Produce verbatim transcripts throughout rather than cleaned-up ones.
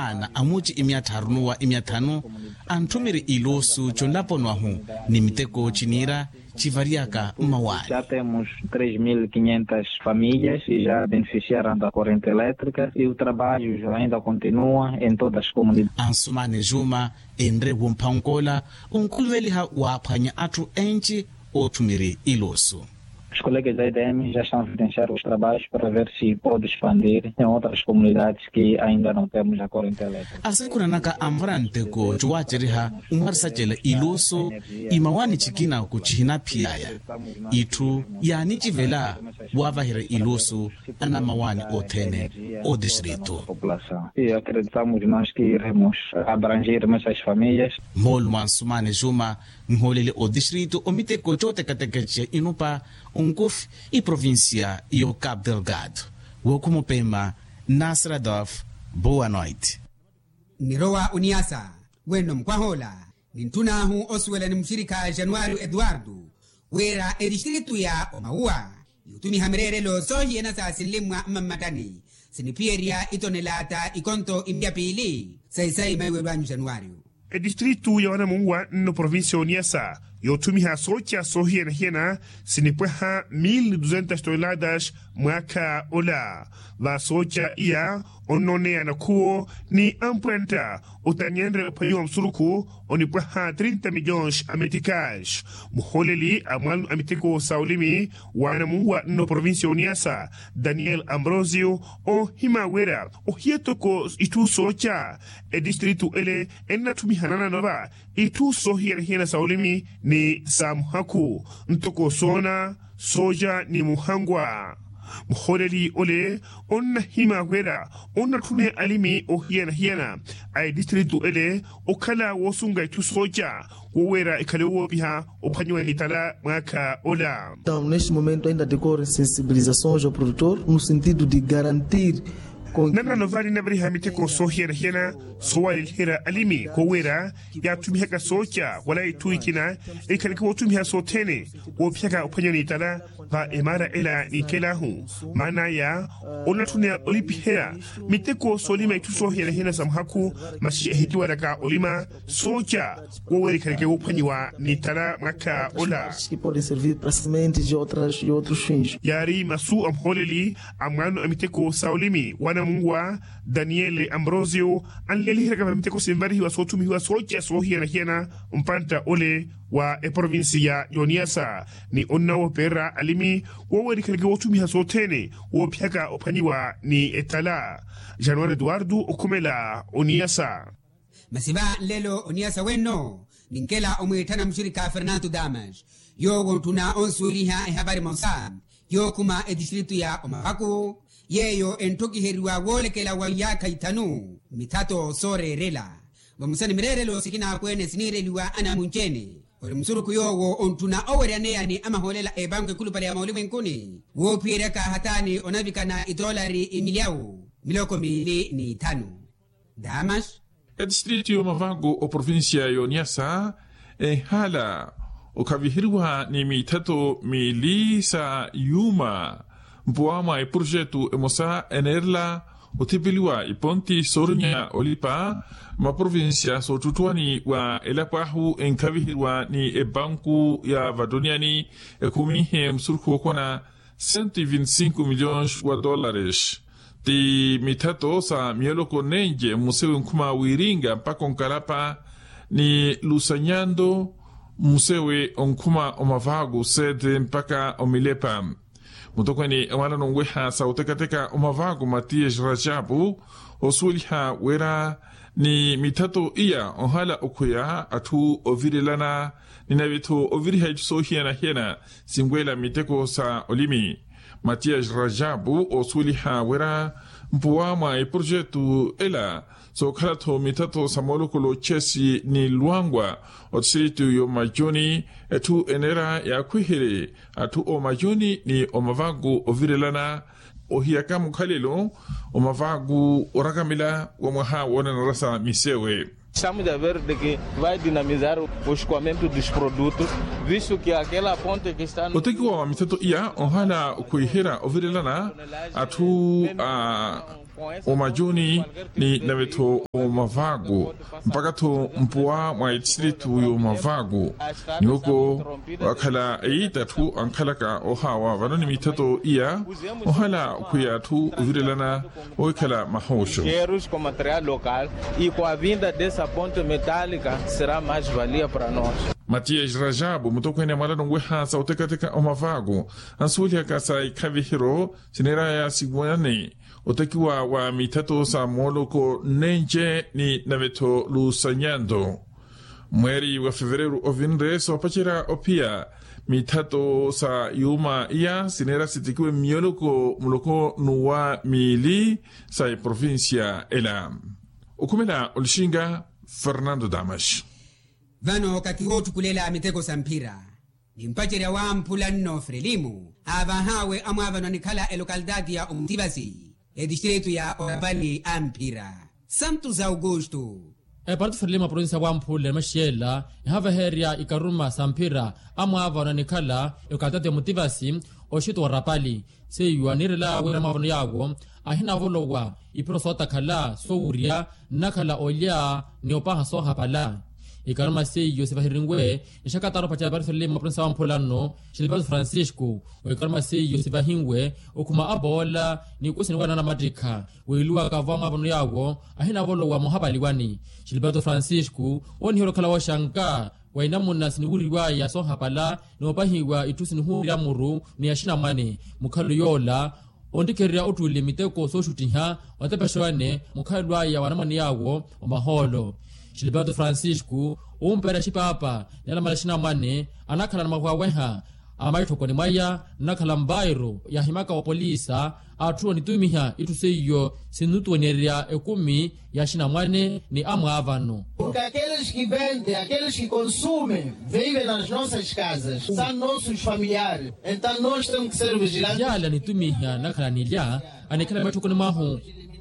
Ana amuci imiya tthaaru nuwa imiya tthanu, antthumiri ilusu conlaponi wahu ni miteko ciniira civariyaka mmawaani. Temos três mil quinhentas famílias e já beneficiaram da corrente elétrica e o trabalho ainda continua em todas as comunidades. Ansumani juma enre womphankoola onkuluveliha waaphwanya atthu enci ootthumiri ilusu. Os colegas da edm já estão a evidenciar os trabalhos para ver se pode expandir em outras comunidades que ainda não temos a corrente elétrica. Asakhunanaka anvara nteko cowaaceriha, onwarisacela ilusu imawaani cikina kucihina phiyaya itthu yaanicivela waavahira ilusu anamawaani othene. Otistritu. População e acreditamos nós que iremos abranger mais as famílias. Moolu mwa nsumani juma nhoolele otistritu omiteko cootekateka ca inupa onkufi iprovincia yo cap delgado. Wookhuma opema nasradolf. Boa noite. Nnirowa oniyasa wenno mukwah'ola nintthun'ahu osuwela ni muxirikha januwari eduwardo wira etistritu ya omawuwa yutumiha mireerelo soohiyana sa sinlimmwa mmammattani siniphiyerya itonelaata ikonto imya piili sayi-sayi maiwelo anyu januwari. Etistritu ya wanamuwa nno provincia oniyasa yoothumiha sooca soohiyana-hiyana sinipwaha mil ni duzentas tonelatas mwaakha ola. Va sooca iya onnooneya anakhuwo ni ampwantta otanyenre ophwanyiwa musurukhu onipwaha trinta milhões a meticais. Muhooleli a mwaano a miteko sa olimi waanamuwa nno provincia oniyasa daniel ambrosio oohima wira ohiya toko itthu sooca etistritu ele ennatthumiha nananova itthu soohiyana-hiyana sa olimi ni sa muhakhu ntoko soona sooca ni muhangwa. Muhooleli ole onnahima wira onnatthune alimi oohiyana-hiyana a etistritu ele okhala woosunga itthu sooca wo wira ekhale woopiha ophwanyiwa ni tala mwaakha ola. Neste momento ainda decorre sensibilizações ao produtor no sentido de garantir nanano vale navariha miteko soohiyana-hiyana soowaleliherya alimi kowira yaathumihaka sooca wala itthu ikina ekhaleke woothumiha sothene woophiyaka ophwanya ni tala va emaara ela ninkelahu maana aya onatthuna olipiherya miteko soolima itthu soohiyana-hiyana sa muhakhu masi ehitiwalaka olima sooca wowirikhaleke woophwanyiwa ni tala mwaakha ola. Yaari masu a muhooleli a mwaano a miteko sa olimi wanamunwa daniele ambrosio anleliheryaka va miteko sinvarihiwa soothumihiwa sooca soohiyana-hiyana mpantta ole wa eprovinsiya y'oniyasa ni onnawoopererya alimi woowerikhaleke woothumiha sothene woophiyaka ophwanyiwa ni ettala. Januwari eduwardo okhumela oniyasa. Masi va nlelo oniyasa wenno ninkela omwiitthana muxirikha fernanto damas yoowo ontthuna onsuweliha ehapari emosa yookhuma etistritu ya omavaku yeeyo entthokiheriwa woolekela wa iyaakha ithanu mithato sooreerela vamosa ni mireerelo sikina akweene siniireliwa anamunci-ene ori musurukhu yoowo ontthuna oweryaneya ni amahoolela a epanku ekhulupale ya moolumwenkuni woophiyeryaka hataani onavikana itoolari imilyawu miloko miili n'ithanu. Damas. Etistritu y'omavaku oprovinsiya y'oniyasa enhala okhaviheriwa ni mithato miili sa yuuma mpuwa mwa eprojetu emosa eneerela othipeliwa iponti soorinya olipa maprovinsiya soottuttuwani wa elapo ahu enkhaviheriwa ni epanku ya vattuniyani ekhumihe musurukhu wookona cento e vinte e cinco milhões wa dólares ti mithato sa miyoloko nenje mmusewe onkhuma wiiringa mpakha onkalapa ni lusanyanto mmusewe onkhuma omavaku sete mpakha omilepa. Mutokweni ewalano onweha sa otekateka omavaku matiyas rajapu osuweliha wira ni mithato iya onhala okhweya atthu ovirelana ni nave-tho oviriha itthu soohiyana-hiyana sinweela miteko sa olimi. Matiyas rajapu oosuweliha wira mpuwa mwa eprojetu ela sookhala-tho mithato sa moolokolo chesi ni lwangwa otistritu y'omajuni etthu eneera yaakhwiherye atthu omajuni ni omavaku ovirelana ohiyaka mukhalelo omavaku orakamela wa mwaha woonanarasa misewe. Estamos a ver de que vai dinamizar o escoamento dos produtos visto que aquela ponte que está no otekiwa wa mithato iya onhala okhwiherya ovirelana atthu a Omajuni ni nave-tho omavaku mpaka-tho mpuwa mwa etistiritu y'omavaku. Nyuuko wakhala eitathu ankhalaka ohaawa vano ni mithato iya ohala okhwiya atthu ovirelana owikhala mahooxo. Koma material local e kua vinda dessa ponte metallica sera mais valia para nos. Matias rajabu mutokhwene a mwalano nweha sa otekateka omavaku ansuwelihaka sa ikhavihiro sineeraya siwane otekiwa wa mithato sa mooloko nnenje ni nave-tho lusanyanto. Mweeri wa fevereru ovinre soopacerya ophiya mithato sa yuuma iya sineera sitekiwe mmiyooloko muloko n'uwa miili sa eprovincia ela. Okhumela olixinga fernando damas. Vano kathi wootthukulela miteko sa mphira ni mpacerya wamphula nno frelimu aavahaawe amwaavano anikhala elokalitaati ya omutivasi etistiritu ya orapali a mphira santos augusto. Eparti frelimu a provinsia wamphula ni maxiyela ehaveherya ikaruma sa mphira amwaavano anikhala elokalitaati ya omutivasi oxito wa orapali seiyo aniirela wira mwaavano yaawo ahinavolowa ipiro sootakhala soowurya nnakhala olya ni opaha soohapala. Ikaruma seiyo sivahirinwe nixakataaru opacerya eparti frelimu a provinsia wamphula nno xilipatu francisco. Ikaruma seiyo sivahinwe okhuma apoola ni ikusi ni wanaana mattikha wiiluwaka vo amwaavano yaawo ahinavolowa moohapaliwani. Xilipatu francisco ooniherya okhala wooxanka wa inamuna siniwuriwaya soohapala noopahiwa itthu sinihuurya muru ni axinamwane mukhalu yoola onttikhererya ottuule miteko sooxuttiha otepexewane mukhalu aya wa anamwane yaawo wa mahoolo. Xilipatu francisco ompeerya xipaapa ni alamala axinamwane anakhala na mawaweha a maitthokoni mwaya nnakhala mvairo yaahimaka opolisa atthu onitumiha itthu seiyo sinnutuwenyererya ekumi ya axinamwane ni amwaavano. Porque aqueles que vendem aqueles que consumem vivem nas nossas casas são nossos familiares. Então nós temos que ser vigilantes. Yaala anitumiha nnakhala anilya anikhala mmeetthokoni mwahu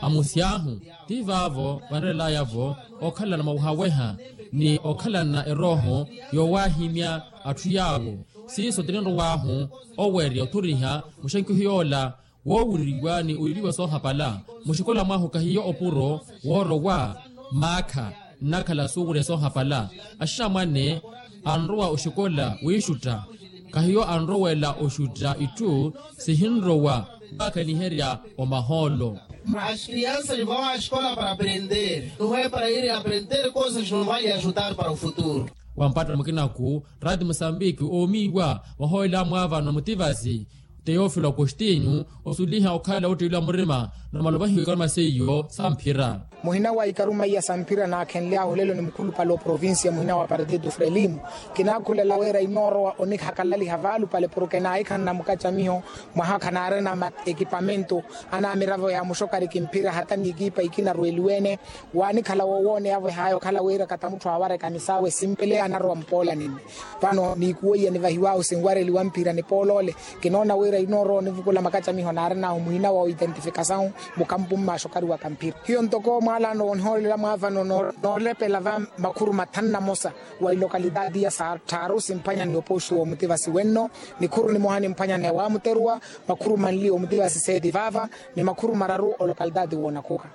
amusi ahu ti vaavo vanreelaya-vo okhalana mawaweha ni okhalana erooho yoowahimya atthu yaawo. Siiso tininrowaahu owerya othuriha muxenkiho yoola woowuriwa ni oiliwa soohapala muxikola mwahu kahiyo opuro woorowa maakha nnakhala suwurya soohapala. Axinamwane anrowa oxikola wiixutta kahiyo anrowela oxutta itthu sihinrowa vakaniherya omahoolo. Mas crianças vão a escola para aprender, não é para ir aprender coisas não vai ajudar para o futuro. Wampattela mukinaku rati musambiki oomiiwa wahoolela amwaavano mutivasi teofilo agostinho osuliha okhala ottiiliwa murima na malovahiwe ikaruma seiyo sa mphira. Muhina wa ikaruma iya sa mphira naakhenly'ahu lelo ni mukhulupale oprovincia muhina wa partido frelimo. Kinaakhulela wira inoorowa onihakalaliha vaalupale porke naahikhanna mukacamiho mwaha khanaarina ma ekipamento anaamiravo ya muxokari kimphira hata n'ikiipa ikina arweeliwe-ene. Waanikhala woowooneya-vo ehaayo okhala wira kata mutthu aawareka misaawe simpele anarowa mpoola ninne. Vano niikuweiya nivahiw'ahu sinwareliwa mphira nipool'ole. Kinoona wira inoorowa onivukula makacamiho naarin'ahu muhina wa oidentifikasau mukampu mma axokari wa kamphira hiyo ntoko mwaalaano woonihoolela mwaavano noolepela va makhuru mathanu na mosa wa ilokalitaati ya sattharu simphwanya ni opoxu w'omutivasi wenno. Nikhuru nimoha nimphwanya ni ewaamuteruwa makhuru manli omutivasi seeti vaava ni makhuru mararu olokalitaati woonakhuka.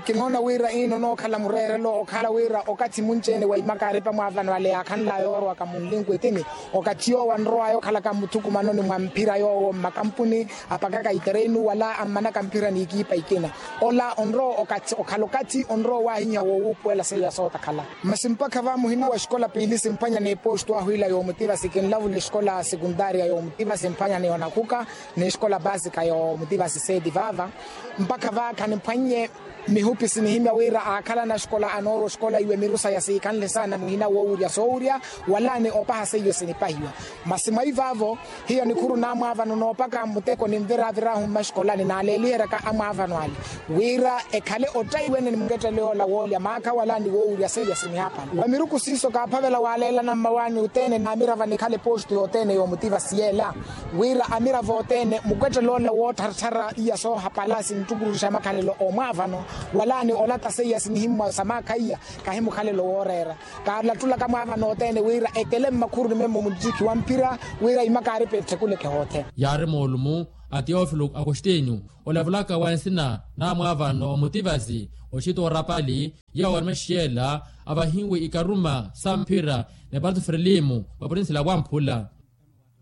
Kinoona wira ino nookhala mureerelo okhala wira okathi munci-ene wa imakaaripa mwaavano ale yaakhanlaya oorowaka munlinku etini okathi yoowo anrowaya okhalaka mmuthukumanoni mwa mphira yoowo mmakampuni apakaka itereinu wala ammanaka mphira n'ikiipa ikina. Ola onrowa okathi okhala okathi onrowa owaahinya woowuupuwela seiya sootakhala. Masi mpakha va muhina wa exikola piili simphwanya n'epostu ahu ila yoomutivasi kinlavula exikola sekuntaariya yoomutivasi simphwanya ni onakhuka n'exikola paasika yoomutivasi seeti vaava. Mpakha vaakha nimphwannye mihupi sinihimya wira aakhalana axikola anoorwa oxikola iwe miru saya siikhanle saana muhina woowurya soowurya wala ni opaha seiyo sinipahiwa. Masi mwa ivaavo hiyo nikhuru naamwaavano noopaka mmuteko ninviravir'ahu mmaxikolani naaleeliheryaka amwaavano ale wira ekhale ottayiwene ni muketteley'ola woolya maakha wala ni woowurya seiya sinihapala wa miruku siiso kaaphavela waaleelana mmawaani othene naamirava nikhale postu yothene yoomutivasi yeela wira amiravo othene mukwettele ola woottharattharaiya soohapala sinttukuruxa makhalelo oomwaavano wala ni olata seiya sinihimmwa sa maakha iya kahi mukhalelo wooreera. Kaalattulaka mwaavano othene wira etele mmakhuruni memmo muttiki wa mphira wira imakaaripa etthekuleke hoothene. Yaari moolumu a teofilo akostinyu olavulaka wa nsina namwaavano omutivasi oxita orapali, yawo arime xiyela avahiwe ikaruma sa mphira ni partu frilimu wa purinsila wamphula.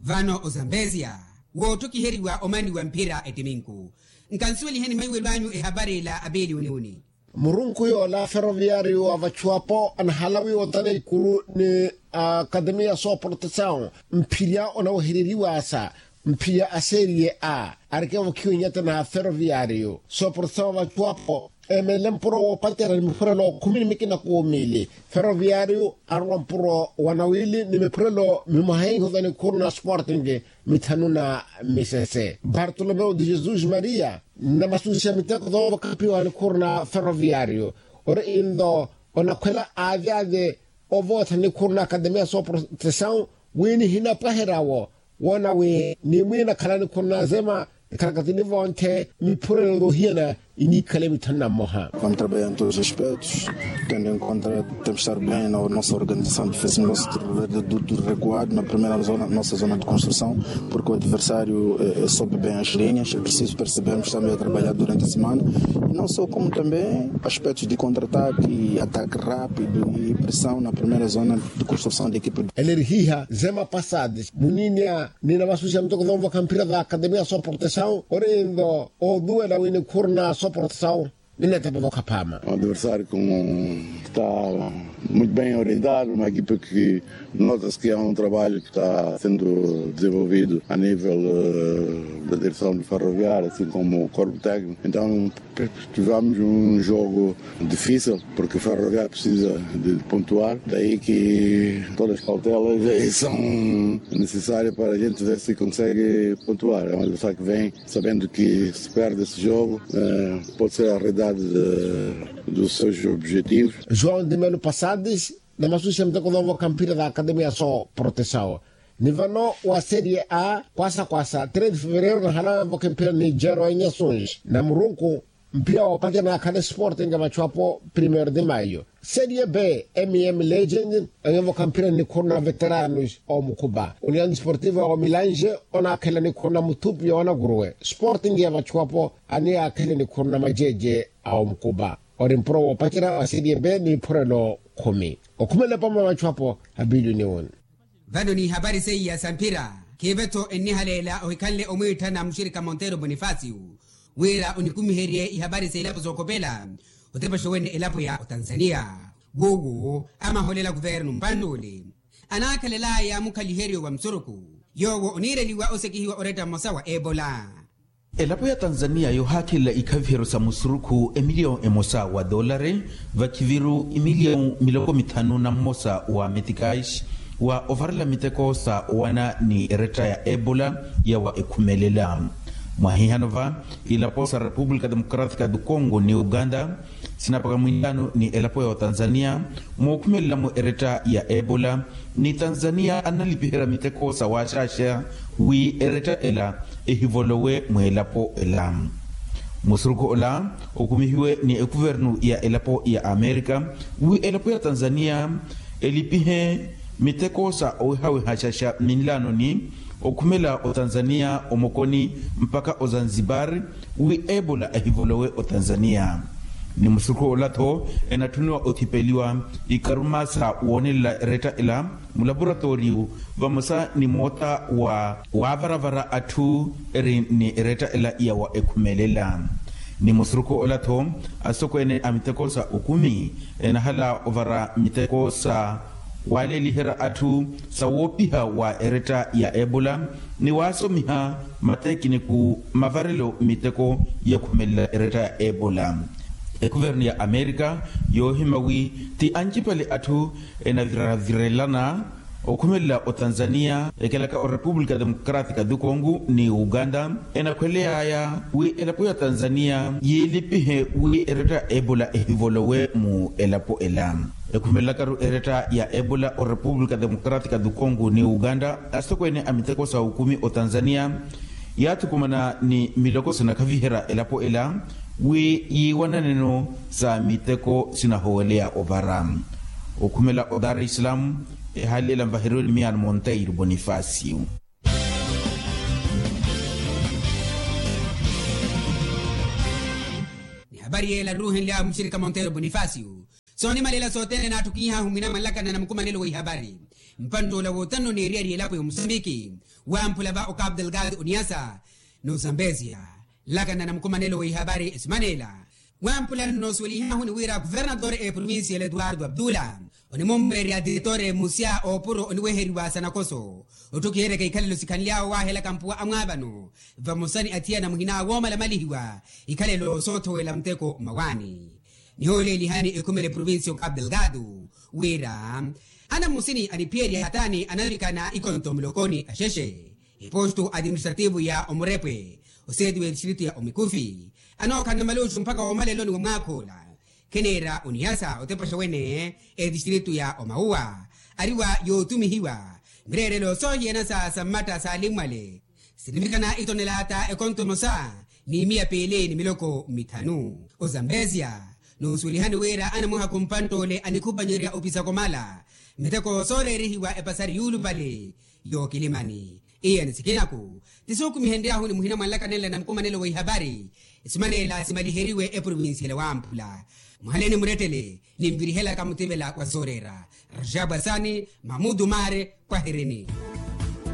Vano ozambezia woottokiheriwa omani wa mphira ettiminku. Nkansuweliheni maiwelo anyu ehapari ila apiili oniuni. Murunku yoola feroviyaariyo wa vachuwapo anahala wiiwa otana ikuru ni akatemiya sooportesawu. Mphirya onawehereriwasa mphirya a serie a arikevokhiwa inyata na feroviyaariyo sooportesawu wa vachuwapo. Emeele mpuro woopacerya ni muphurelo khumi ni mikina kuumili feroviyaariyo arowa mpuro wa nawili ni miphurelo mimwaha ihoza ni khuru na sporting mithanu na misese bartolomeu de jesus maria. Nnamasusiha miteko thoova khapiwa nikhuru na feroviyaariyo ori into onakhwela aavyavye ovootha nikhuru na akatemiya sooportesawu wi nihinapwaherya-wo woona wi nimwiina khala nikhuru na zema. Ekhalakatini vonthe miphurelo yoohiyana iniikhale mithanu na mmoha. Vamos trabalhar em todos os aspectos tendo em conta temos estar bem na nossa organização de fez nosso recuado na primeira zona nossa zona de construção. Porque o adversário sobe bem as linhas é preciso percebermos também a trabalhar durante a semana e não só como também aspectos de contra-ataque, ataque rápido e pressão na primeira zona de construção da equipa. Elerihiha zema pasades muninia nina masusia mutokothomu vakhampira va akademia soportesawu ori ndo oduwela wini khurna soportesawu. Ninetepova khaphama. Adversário como está muito bem orientado uma equipa que notas que é um trabalho que está sendo desenvolvido a nível da direção de ferroviária assim como corpo técnico então tivemos um jogo difícil porque ferroviária precisa de pontuar daí que todas as cautelas são necessárias para a gente ver se consegue pontuar é um adversário que vem sabendo que se perde esse jogo pode ser a realidade dos seus objetivos. João de melo passadis na masusia muteko vavo kampira da akademia so protesawo ni vano wa serie a kwasa kwasa três de fevereiro na halawa mvoke mpira ni jero enyasunji na murunku mpira wopatya na akhale sporting ya vachuapo primeiro de maio serie b. Miami legend anyevoka mpira ni khurna veteranos omukuba union sportivo wa milange onakhela ni khurna muthupi ya wanaguruwe sporting ya vachuapo aniyakhele ni khurna majeje a omukuba. Ori mpuro woopacerya wa serie b ni iphurelo khumi okhumela pama vachuapo. Abiluni woni. Vano ni ihapari seiya sa mphira khiive-tho ennihaleela ohikhanle omwiitthana muxirikha montero bonifasio wira onikumiherye ihapari sa elapo sookopela otepaxa wene elapo ya otanzania. Wuwo amaholela kuvernu mpannuule anaakhalelaya mukhaliheryo wa musuruku yoowo oniireliwa osekihiwa oretta mmosa wa ebola. Elapo ya tanzania yoohaakhelela ikhaviheryo sa musurukhu emiliyawu emosa wa doolari vakhiviru imiliyawu miloko mithanu na mmosa wa metikais wa ovarela miteko sa owana ni eretta ya ebola yawa ekhumelela. Mwahihano va ilapo sa repupulika democratica du congo ni uganda sinapaka mwinlano ni elapo ya otanzania mookhumelela-mo eretta ya ebola ni tanzania analipiherya miteko sa waaxaaxa wi eretta ela ehivolowe mweelapo ela. Musurukhu ola okumihiwe ni ekuvernu ya elapo ya amerika wi elapo ya tanzania elipihe miteko sa owihawihaxaxa minlaanoni okhumela otanzania omokoni mpaka ozanzibar wi ebola ehivolowe otanzania. Ni musurukhu ola-tho enatthuniwa othipeliwa ikaruma sa woonelela eretta ela mulaporatoriyu vamosa ni moota wa waavaravara atthu eri ni eretta ela yawa ekhumelela. Ni musurukhu ola-tho asokweene a miteko sa okumi enahala ovara miteko sa waaleeliherya atthu sa woopiha wa eretta ya ebola ni waasomiha matekiniku mavarelo miteko yakhumelela eretta ya ebola. Ekuvernu ya amerika yoohima wi ti ancipale atthu enaviravirelana okhumelela otanzania ekelaka orepupulika democratica du congo ni uganda enakhweleyaya wi elapo ya tanzania yiilipihe wi eretta ya ebola ehivolowe mu elapo ela. Ekhumelelakaru eretta ya ebola orepupulika democratica du congo ni uganda asitokweene a miteko sa okumi otanzania yaathukumana ni miloko sinakhaviherya elapo ela wi yiiwananeno sa miteko sinahoweleya ovara. Okhumela o dar es salaam ehaali ela nvaheriwe ni miyano monteiro bonifacio. Ariela ruuhenlyawe muxirika montero bonifacio. Soonimalela sothene naattukihahu mwinamwa nlakana na mukumanelo wa ihabari. Mpanttoola woottanno neeriyari elapo ya omusambiki wamphula va ocapu delgado oniyasa n'ozambesia. Nlakana na mukumanelo wa ihabari esimanela wamphula nnoosuwelihahuni wira kuvernator eprovincia ela eduardo abdula onimummweererya diretor musya oopuro oniweheriwa sanakoso. Otthukiheryaka ikhalelo sikhanly'awe waahelaka mpuwa amwaavano vamosa ni athiyana muhina woomalamalihiwa ikhalelo soothowela muteko mmawaani. Nihooleelihani ekhumela eprovincia ocapu delgado wira anamusini aniphiyerya hataani anavikana ikonto mulokoni axexe eposto administrativo ya omurepwe oseeti w'edistritu ya omikufi anookhalana maluxu mpakha woomaleloni wa mwaakha ola. Kheneera onihasa otepaxa wene edistritu ya omauwa ari wa yootumihiwa mireerelo soohiyana sa sammatta saalimmwale sinivikana itonelaata ekonto emosa ni miya piili ni miloko mithanu. Ozambesia nuusuwelihani wira anamuhakhu mpantt'ole anikhupanyerya opisako mala miteko sooreerihiwa epasari yuulupale yookilimani. Iye ni sikinaku tisuukumihenryahuni muhina mwa nlakanenla na mukumanelo wa ihapari. Esimanela simaliheriwe eprovincia ela wamphula muhaleni murettele ninvirihelaka mutivela wa sooreera. Rajabwasani mamudu maare kwahirini.